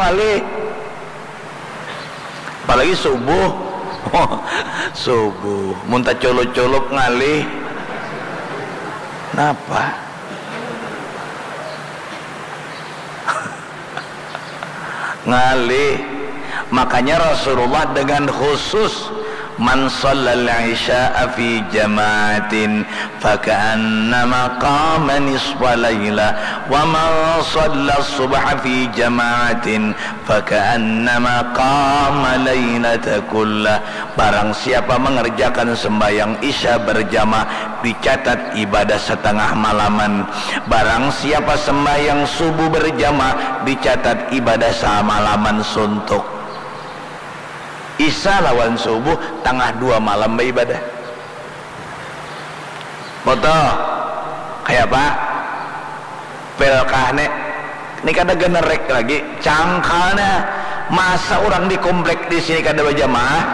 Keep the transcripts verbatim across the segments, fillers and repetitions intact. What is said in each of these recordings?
Ngalih. Apalagi subuh. Subuh. Mun taculup-culup ngalih. Napa? Ngalih. Makanya Rasulullah dengan khusus, "Man shallal isya'a fi jama'atin faka'annama qama nisfa lailah, wa man shallas subha fi jama'atin faka'annama qama lailata kullah." Barang siapa mengerjakan sembahyang isya berjamaah, dicatat ibadah setengah malaman. Barang siapa sembahyang subuh berjamaah, dicatat ibadah samalaman suntuk. Isya lawan subuh, tangah dua malam baibadah. Foto. Kaya apa? Pelkah ne. Ni kada generek lagi. Cangkalnya. Masa urang di komplek di sini kada bajamaah?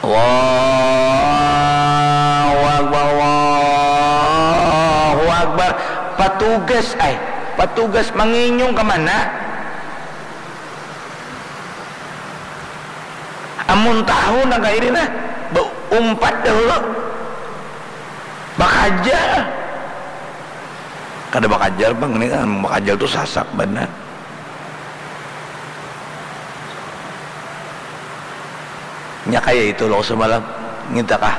Allahu Akbar, Allahu Akbar. Patugas, ay. Patugas manginyung ke mana? Amun tahu nang kaya ini nah, umpat dahulu. Bakajal. Kada bakajal pang, ini kan bakajal tu sasak banar. Nya kaya itu lo semalam, nginta kah?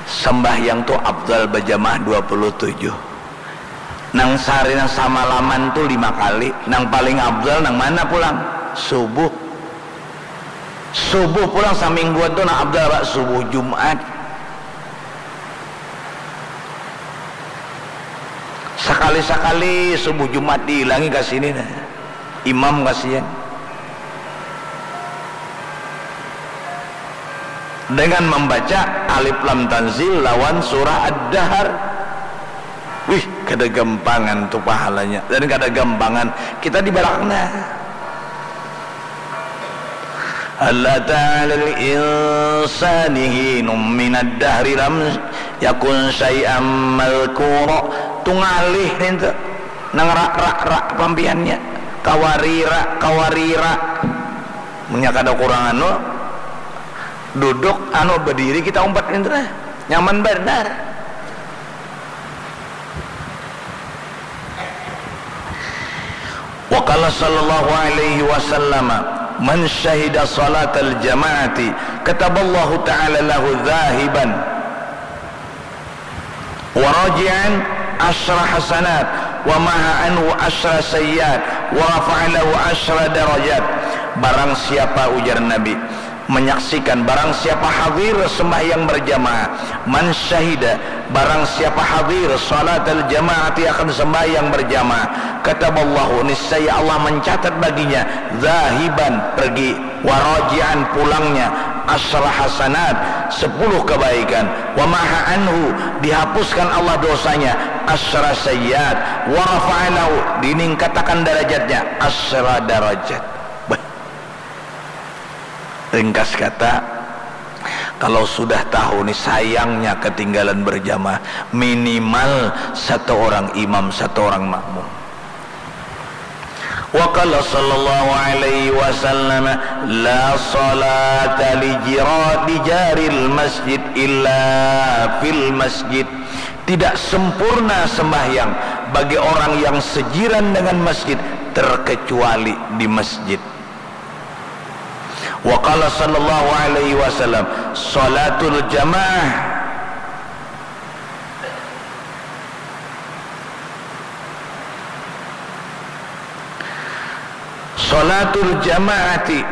Sambahyang tu afdal bajamaah dua puluh tujuh. Nang sehari nang samalaman tu lima kali. Nang paling afdal nang mana pulang? Subuh. Subuh pulang samingguan tu nang afdal apa? Subuh Jumat. Sakali-sakali subuh Jumat diilangi ka sini nah. Imam kasian. Dengan membaca Alif Lam Tanzil lawan surah Ad-Dahr. Wih, kada gampangan tu pahalanya. Dan kada gampangan kita di balakang nah. Hal ata 'alal insani hinum minad dahri lam yakun syai'am madhkura. Tu ngalih nintu. Nang ra, ra, ra pampihannya. Kawarira, kawarira. Munnya kada kurang anu, duduk, anu, badiri kita umpat nintu nah. Nyaman banar. Wa qala sallallahu alaihi wasallam, "Man syahida salatal jama'ati kataballahu ta'ala lahu dzahiban wa raji'an asyra hasanat wa maha anhu asyra sayyiat wa rafa'a lahu asyra darajat." Barang siapa, ujar Nabi, menyaksikan, barang siapa hadir sembahyang berjamaah, man syahida, barang siapa hadir salatal jamaati, akan sembahyang berjamaah, kataballahu, niscaya Allah mencatat baginya, zahiban, pergi, waraji'an, pulangnya, asyra hasanat, sepuluh kebaikan, wa maha anhu, dihapuskan Allah dosanya, asyra sayyiat, wa rafa'alahu, diningkatakan darajatnya, asyra darajat. Bah. Ringkas kata, kalau sudah tahu ni sayangnya ketinggalan berjamaah, minimal satu orang imam, satu orang makmum. Wa qala sallallahu alaihi wasallam, "La salata li jira-, li jaril masjid illa fil masjid." Tidak sempurna sembahyang bagi orang yang sejiran dengan masjid terkecuali di masjid. Wa qala sallallahu alaihi wasallam, salatul jamaah, salatul jamaati